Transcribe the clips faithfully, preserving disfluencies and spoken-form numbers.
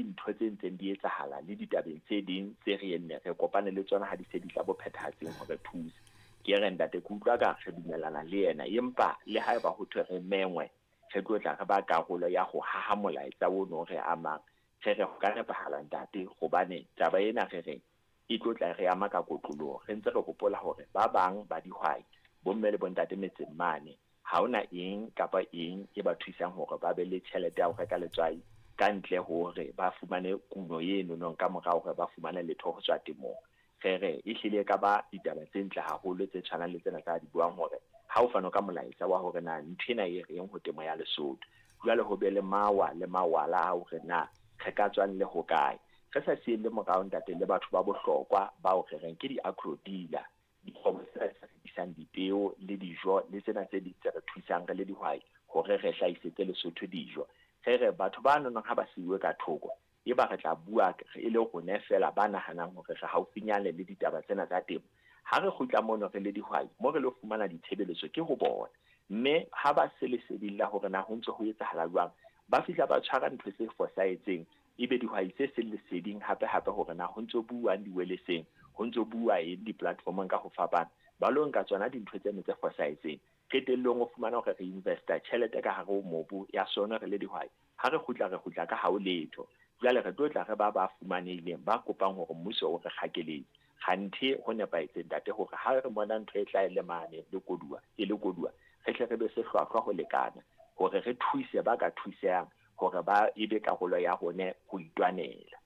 dintho tse ntseng di etsahala le ditabeng tse ding tse re enne re kopane le tsona ha di se di tla bophethahatseng hore thuse. Ke re ntate, ke utlwa ka re dumellana le yena, empa le haeba ho thwe re mengwe, re tlo tla re ba karolo ya ho haha molaetsa ono re amang. Re re ho ka nepahala ntate, hobane taba ena re re e tlo tla re ama ka kotloloho. Re ntse re hopola hore ba bang ba dihwai, bomme le bontate metseng mane, ha hona eng kapa eng e ba thusang hore ba be le tjhelete ya ho reka letswai ka ntle hore ba fumane kuno eno nong ka morao hore ba fumane letho ho tswa temong. Re re ehlile ka ba ditaba tse ntle haholo tse tshwanang le tsena tsa di buang hore ha o fano ka molaetsa wa hore na ntho ena e reng ho temo ya Lesotho. Jwale ho be le mawa le mawala a hore na re ka tswang le hokae. Re sa sielle morao ntate le batho ba bohlokwa bao re reng ke di-agro dealer, dikgwebo tsena tse rekisang dipeo le dijo le tsena tse ding tse re thusang re le dihwai hore re hlahisetse Lesotho dijo. Re re batho ba nonong ha ba siuwe ka thoko, eba re tla bua e le rona feela ba nahanang hore re haufinyane le ditaba tsena tsa temo. Ha re kgutla mono re le dihwai, mo re lo fumana ditshebeletso ke ho bona. Mme ha ba se leseding la hore na ho ntse ho etsahala jwang, ba fihla ba tshwara ntho tse fosahetseng, ebe dihwai tse seng leseding hape hape hore na ho ntso buuwang diweleseng, ho ntso bua eng di-platformong ka ho fapana, ba lo nka tsona dintho tseno tse fosahetseng. Qetellong o fumana hore re investa tjhelete ka hare ho mobu ya sona re le dihwai. Ha re kgutla re kgutla ka hao letho. Jwale re tlo tla re ba ba fumanehileng ba kopang hore mmuso o re kgakeletse. Kganthe ho nepahetse ntate hore ha re bona ntho e tla e le mane le koduwa, e le koduwa, re tle re be se hlwahlwa ho lekana hore re thuse ba ka thusehang hore ba ebe karolo ya rona ho itwanela.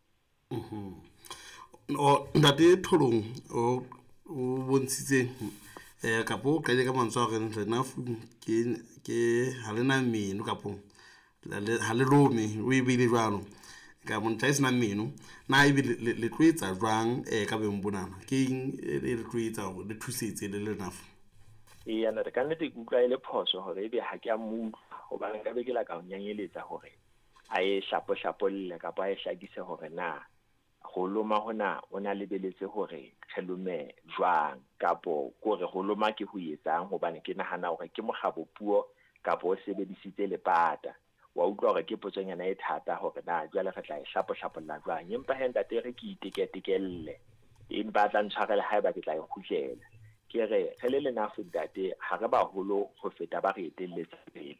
Mhm. O ntate Tholong o o bontshitse eh kapo o qadile ka mantswe a horeng LENAFU ke ke ha lena meno kapo ha le lome, o e beile jwalo. Ka montla e senang meno, na ebe le le tlo etsa jwang eh ka beng bonana? Ke eng e le tlo etsa hore le thusetse le LENAFU? Eya ntate, ka nnete ke utlwa e le phoso hore ebe ha ke a mo utlwa, hobane nka be ke la ka o nyanyeletsa hore a e hlapohlapolle kapa a e hlakise hore na ho loma hona o na lebeletse hore re lome jwang, kapo kore ho loma ke ho etsang, hobane ke nahana hore ke mokgabo puo kapo o sebedisitse lepata. Wa utlwa hore ke potsonyana e thata hore na jwale re tla e hlapohlapolla jwang. Empa he ntate re ke iteketekelle, empa a tla ntshwarela haeba ke tla e kgutlela. Ke re re le LENAFU ntate, ha re baholo ho feta ba re etelletse pele.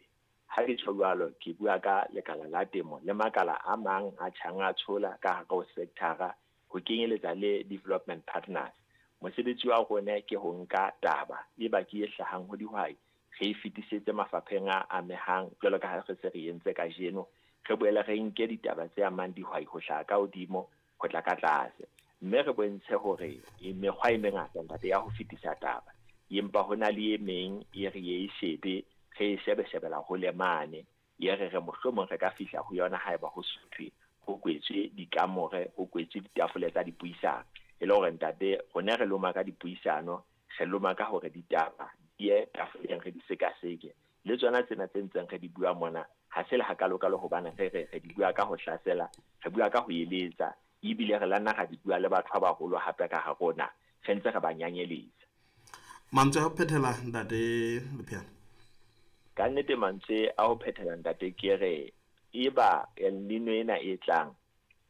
Ha ke tjho jwalo, ke bua ka lekala la temo le makala a mang a tjhang a tshola ka hare ho sector-a, ho kenyeletsa le development partners. Mosebetsi wa rona ke ho nka taba e ba ke e hlahang ho dihwai, re e fetisetse mafapheng a amehang jwalo ka ha re se re entse kajeno. Re boele re nke ditaba tse amang dihwai ho hlaha ka hodimo ho tla ka tlase, mme re bontshe hore e mekgwa e mengata ntate ya ho fetisa taba, empa ho na le e meng e re e shebe, re e shebe-shebela hole mane, e re re mohlomong re ka fihla ho yona haeba ho suthwe, ho kwetswe dikamore, ho kwetswe ditafole tsa dipuisano. E le hore ntate rona re loma ka dipuisano, re loma ka hore ditaba di ye tafoleng re di sekaseke. Le tsona tsena tse ntseng re di bua mona ha se le hakalokalo, hobane re re re di bua ka ho hlasela, re bua ka ho eletsa, ebile re la nna ra di bua le batho ba baholo hape ka ha rona, re ntse re ba nyanyeletsa. Mantswe a ho phethela ntate Lepheana? Ka nnete mantswe a ho phethela ntate ke re eba El Nino ena e tlang,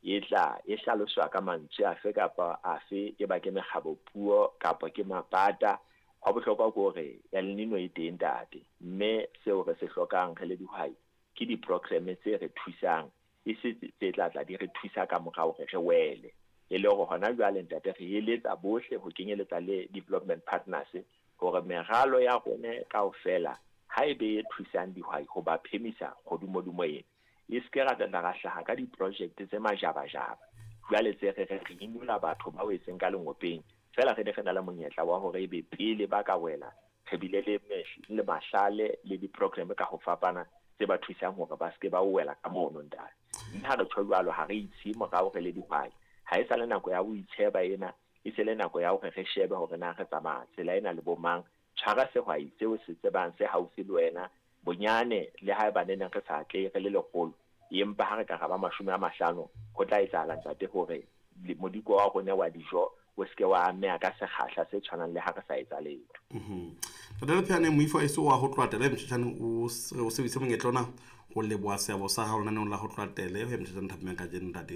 e tla e hlaloswa ka mantswe afe kapa afe, e ba ke mekgabo puo kapa ke mapata. Hwa bohlokwa ke hore El Nino e teng ntate, mme seo re se hlokang re le dihwai ke di-programme tse re thusang, e se tse tla tla di re thusa ka morao hore re wele. E le hore hona jwale ntate re eletsa bohle ho kenyeletsa le development partners hore meralo ya rona kaofela ha e be e thusang dihwai ho ba phemisa kgodumodumo ena, e se ke ra tla ra hlaha ka di-project tse majabajaba. Jwale tse re re re inola batho ba wetseng ka lengopeng feela, re ne re na le monyetla wa hore ebe pele ba ka wela re bile le le mahlale le di-programme ka ho fapana tse ba thusang hore ba se ke ba wela ka mono ntate. Mme ha re tjho jwalo, ha re itshe morao re le dihwai. Ha e sa le nako ya ho itsheba ena, e se le nako ya hore re shebe hore na re tsamaya tsela ena le bo mang. Tshwara sehwai seo se tsebang se haufi le wena, bonyane le haeba ne neng re sa atlehe re le lekgolo, empa ha re ka ra ba mashome a mahlano, ho tla etsahala ntate hore modiko wa rona wa dijo o se ke wa ameha ka sekgahla se tshwanang le ha re sa etsa letho. Mhm. Ntate Lepheana, moifo eso wa ho tloha tele motjhetjhane o o sebedise monyetla ona ho leboha seabo sa hao lenaneong la ho tloha tele ho ya motjhetjhane thapameng kajeno ntate.